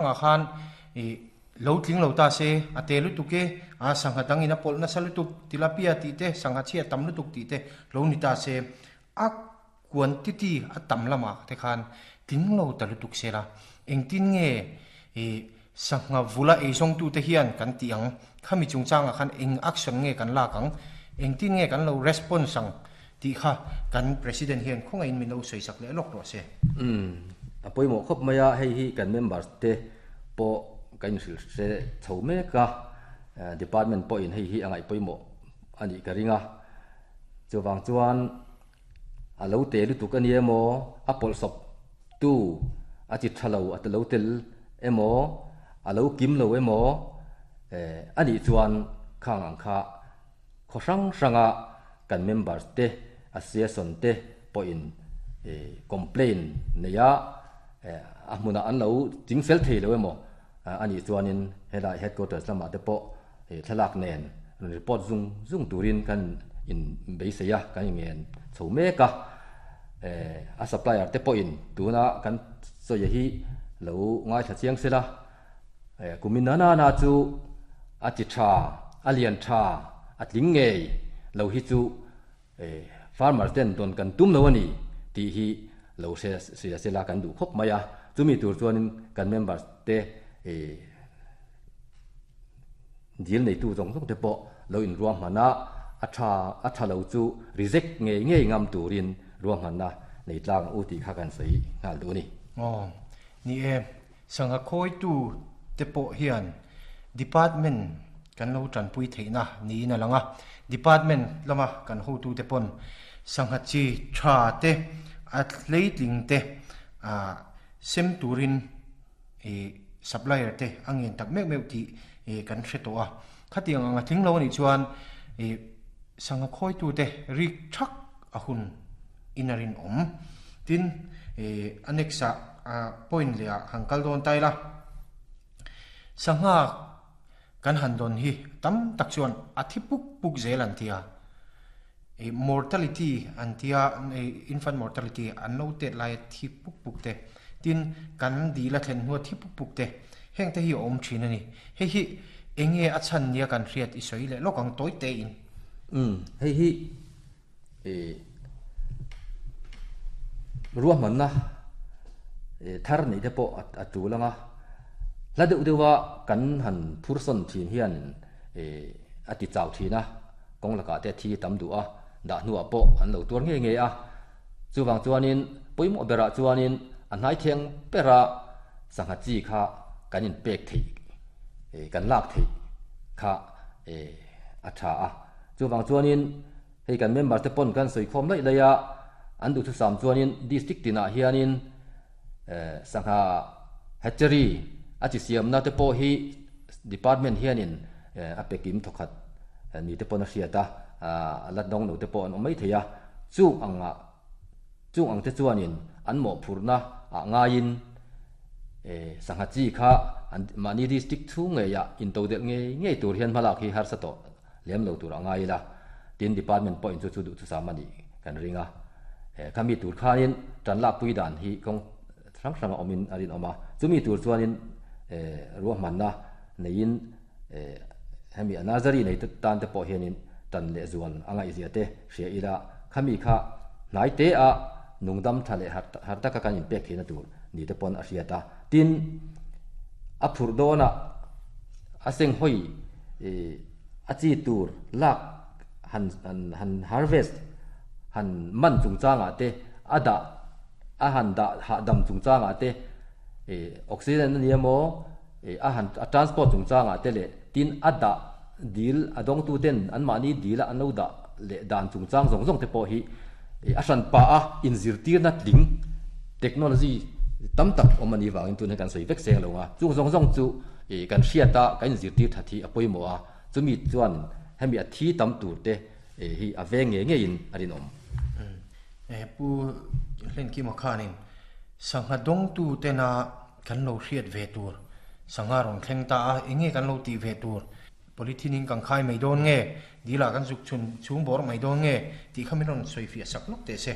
Ah khan i lo tling lo ta se, a te lutuk e, a sangha dangin a pawlh nasa lutuk, tilapia tih te, sangha chhia tam lutuk tih te lo ni ta se, a quantity a tam lamah te khan tling lo ta lutuk se la, engtin nge i sangha vula eizawngtute hian kan tih ang, khami chungchangah khan eng action nge kan lak ang, engtin nge kan lo response ang tih kha kan President hian khawngaihin min lo sawisak leh lawk rawh se. Umm, a pawimawh khawp mai a, hei hi kan members te pawh kan inhrilh hre chho mek a, department pawhin hei hi a ngaih pawimawh a nih ka ring a, chuvang chuan a lo te lutuk a ni emaw, a pawlhsawp tu a chi tha lo a lo tel emaw, a lo kim lo emaw a nih chuan khang ang kha Khaw hrang hranga kan members te, association te pawhin complaint neia a hmunah an lo ching fel thei lo emaw a nih chuanin helai headquarters lamah te pawh thlalak nen rawn report zung zung turin kan inbeisei a, kan inngen chho mek a. A supplier te pawhin tuna kan sawi hi lo ngaithla chiang sela. Kumin na na na chu a ti tha, a lian tha, a tling ngei lo hi chu farmer ten dawn kan tum lo a ni tih hi lo hre hria sela kan duh khawp mai a. Chumi tur chuanin kan members te dil neitu zawng zawng te pawh lo inruahman a, a tha a tha lo chu reject ngei ngei ngam turin ruahmanna nei tlang u tih kha kan sawi nghal duh a ni. Aw, ni e. Sangha khawitu te pawh hian Department kan lo tanpui theihna niin a lang a, Department lama kan hotute pawn sangha chi tha te, a hleitling te sem turin supplier te a ngen tak meuh meuh tih kan hre tawh a. Khatiang ang a tling lo anih chuan sangha khawitute rik thak a hun in a rinawm. Tin, a next ah point leh ah han kal dawn ta ila, sangha kan han dawn hi tam tak chuan a thi puk puk zel an ti a, mortality an ti a, infant mortality an lo tet lai a thi puk puk te, tin kan dil a thlen hnu a thi puk puk te, heng te hi a awm thin a ni. Hei hi enge a chhan nia kan hriat i sawi leh lawk ang tawi te in. Umm, hei hi Ruahmanna thar neih te pawh a tul ang a, hla deuh deuha kan han phur sawn thin hian a ti chau thin a, kawng lakah te thi tam duh a, dah hnuah pawh an lo tuar ngei ngei a. Chuvang chuanin pawimawh berah chuanin a hnai theng bera sangha chi kha kan inpek theih, kan lak theih kha a tha a. Chuvang chuanin Hei kan member te pawn kan sawi khawm laih laih a, an duhthusam chuanin district tinah hianin sangha hatchery a chi siamna te pawh hi department hianin a pe kim thawkhat ni te pawn a hriat a, a la dawng lo te pawh an awm mai thei a, chung angah chung ang te chuanin an mawhphurhna ah ngaiin sangha chi kha an mahni district chhung ngeiah intodelh ngei ngei tur hian hmalak hi harsa tawh lem lo tur a ngai ila, tin department pawhin chu chu duh chusam a nih kan ring a. Khami tur khanin tan lakpui dan hi kawng hrang hranga awmin a rinawm a, chumi tur chuanin ruahmanna neiin hemi a nursery nei tan te pawh hianin tan leh zual a ngaihzia te hria ila, khami kha hnai te a nungdam tha leh har taka kan inpek theihna tur ni te pawn a hriat a. Tin, a phurh dawnah a senghawi a chi tur lak han han harvest han man chungchangah te a dah a han dah hahdam chungchangah te ih oxygen a ni emaw ih a han a transport chungchangah te leh tin a dah dil a dawngtu ten anmahni dil a an lo dah leh dan chungchang zawng zawng te pawh hi ih a hran pah a inzirtirna tling technology tam tak awm a nih vangin tun hi kan sawi vek seng lo a chung zawng zawng chu Ih kan hriat a, kan inzirtir that hi a pawimawh a, chumi chuan hemi a thi tam tur te hi a veng ngei ngeiin a rinawm. Pu Hlenkima khanin sangha dawngtu tena kan lo hriat ve tur, sangha rawn thleng ta a, eng nge kan lo tih ve tur, polythene in kan khai mai dawn nge, dil ah kan zuk chhun chhung bawr mai dawn nge tih kha min rawn sawifiah sak lawk teh se.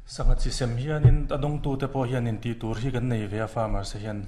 Sangha chi sem hianin a dawngtute pawh hianin tih tur hi kan nei ve a farmers te hian.